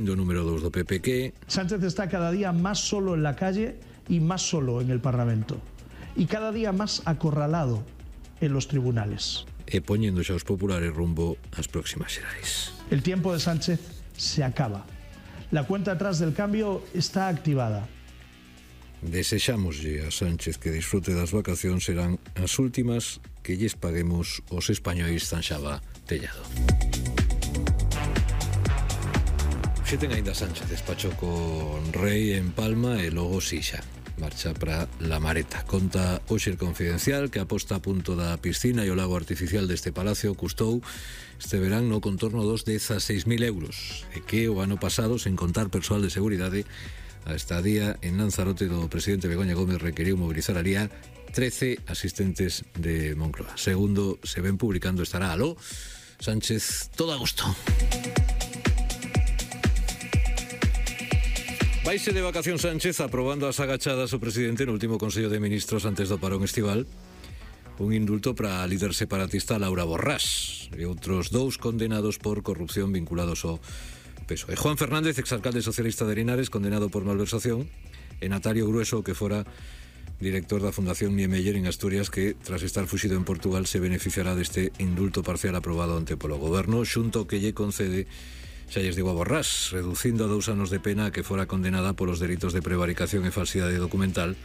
Do número 2 do PP que... Sánchez está cada día más solo en la calle y más solo en el Parlamento. Y cada día más acorralado en los tribunales. E poñendo xa os populares rumbo ás próximas xerais. El tiempo de Sánchez se acaba. La cuenta atrás del cambio está activada. Desexámoslle a Sánchez que disfrute das vacacións, serán as últimas que lles paguemos os españois, zanxaba Tellado. Xe ten aínda Sánchez despachou con Rei en Palma e logo Sixa marcha para La Mareta. Conta hoxe el Confidencial que a posta a punto da piscina e o lago artificial deste palacio custou este verán no contorno dos 16.000 euros e que o ano pasado, sen contar persoal de seguridade, a estadía en Lanzarote do presidente Begoña Gómez requeriu mobilizar alía 13 asistentes de Moncloa. Segundo se ven publicando, estará aló Sánchez todo agosto. Vaise de vacación Sánchez aprobando as agachadas o presidente no último Consello de Ministros antes do parón estival un indulto para a líder separatista Laura Borrás e outros 2 condenados por corrupción vinculados ao PSOE. Juan Fernández, exalcalde socialista de Linares, condenado por malversación, e Natalio Grueso, que fora director da Fundación Niemeyer en Asturias, que tras estar fuxido en Portugal se beneficiará deste indulto parcial aprobado ante polo goberno, xunto que lle concede, xa lles digo a Borrás, reducindo a 2 anos de pena que fora condenada polos delitos de prevaricación e falsidade documental,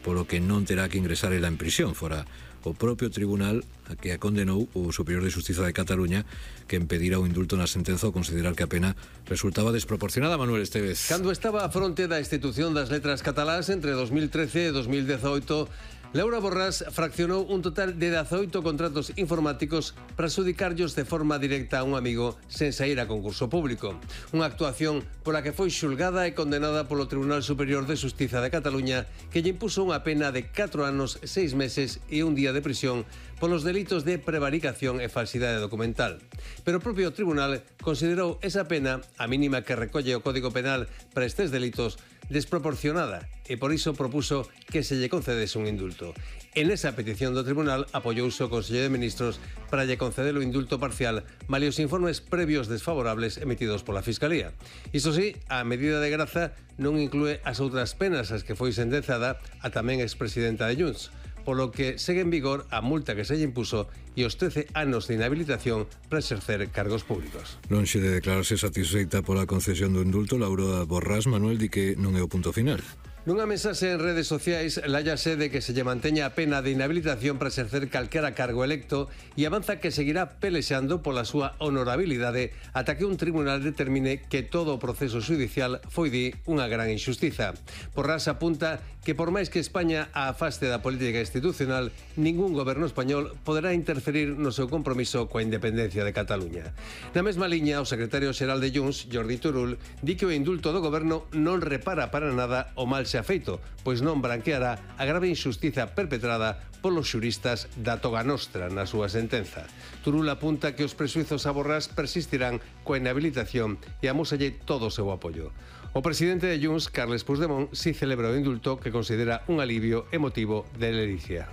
polo que non terá que ingresar ela en prisión. Fora o propio tribunal a que a condenou o Superior de Xustiza de Cataluña, que impedira o indulto na sentenza ao considerar que a pena resultaba desproporcionada. Manuel Estevez. Cando estaba a fronte da institución das letras catalás entre 2013 e 2018, Laura Borrás fraccionou un total de 18 contratos informáticos para adxudicarllos de forma directa a un amigo sen sair a concurso público. Unha actuación pola que foi xulgada e condenada polo Tribunal Superior de Xustiza de Cataluña, que lle impuso unha pena de 4 anos, 6 meses e un día de prisión polos delitos de prevaricación e falsidade documental. Pero o propio tribunal considerou esa pena, a mínima que recolle o Código Penal para estes delitos, desproporcionada e por iso propuso que se lle concedese un indulto. En esa petición do tribunal apoiouse o Consello de Ministros para lle conceder o indulto parcial malia os informes previos desfavorables emitidos pola Fiscalía. Iso sí, a medida de graza non inclúe as outras penas as que foi sentenzada a tamén expresidenta de Junts, polo que segue en vigor a multa que se lle impuso e os 13 anos de inhabilitación para exercer cargos públicos. Lonxe de declararse satisfeita pola concesión do indulto, Laura Borrás, Manuel, di que non é o punto final. Nunha mensaxe en redes sociais lállase de que se lle manteña a pena de inhabilitación para exercer calquera cargo electo e avanza que seguirá pelexando pola súa honorabilidade ata que un tribunal determine que todo o proceso xudicial foi unha gran injustiza. Borrás apunta que por máis que España a afaste da política institucional, ningún goberno español poderá interferir no seu compromiso coa independencia de Cataluña. Na mesma liña, o secretario xeral de Junts, Jordi Turull, di que o indulto do goberno non repara para nada o mal xa feito, pois non branqueará a grave injustiza perpetrada polos xuristas da Toga Nostra na súa sentenza. Turull apunta que os presuizos a Borrás persistirán coa inhabilitación e amósalle todo o seu apoio. O presidente de Junts, Carles Puigdemont, si celebra o indulto que considera un alivio emotivo de ledicia.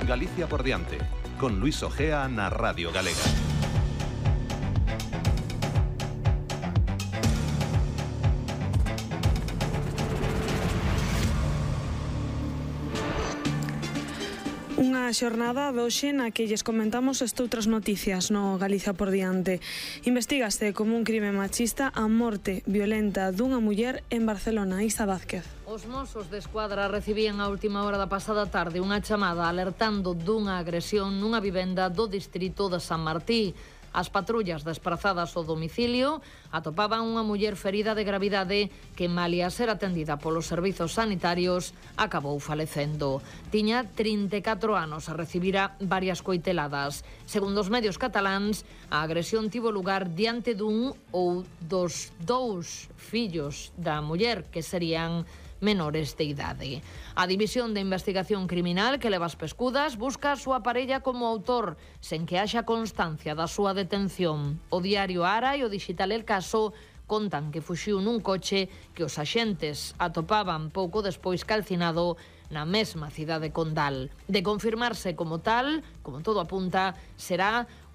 Galicia por diante, con Luis Ojea na Radio Galega. Unha xornada de hoxe na que lles comentamos estoutras noticias no Galicia por diante. Investígase como un crime machista a morte violenta dunha muller en Barcelona. Isa Vázquez. Os Mossos de Escuadra recibían a última hora da pasada tarde unha chamada alertando dunha agresión nunha vivenda do distrito de San Martí. As patrullas desprazadas ao domicilio atopaban unha muller ferida de gravidade que, malia ser atendida polos servizos sanitarios, acabou falecendo. Tiña 34 anos e recibira varias coiteladas. Segundo os medios cataláns, a agresión tivo lugar diante dun ou dos 2 fillos da muller, que serían menores de idade. A División de Investigación Criminal, que leva as pescudas, busca a súa parella como autor, sen que haxa constancia da súa detención. O diario Ara e o digital El Caso contan que fuxiu nun coche que os axentes atopaban pouco despois calcinado na mesma cidade condal. De confirmarse como tal, como todo apunta, será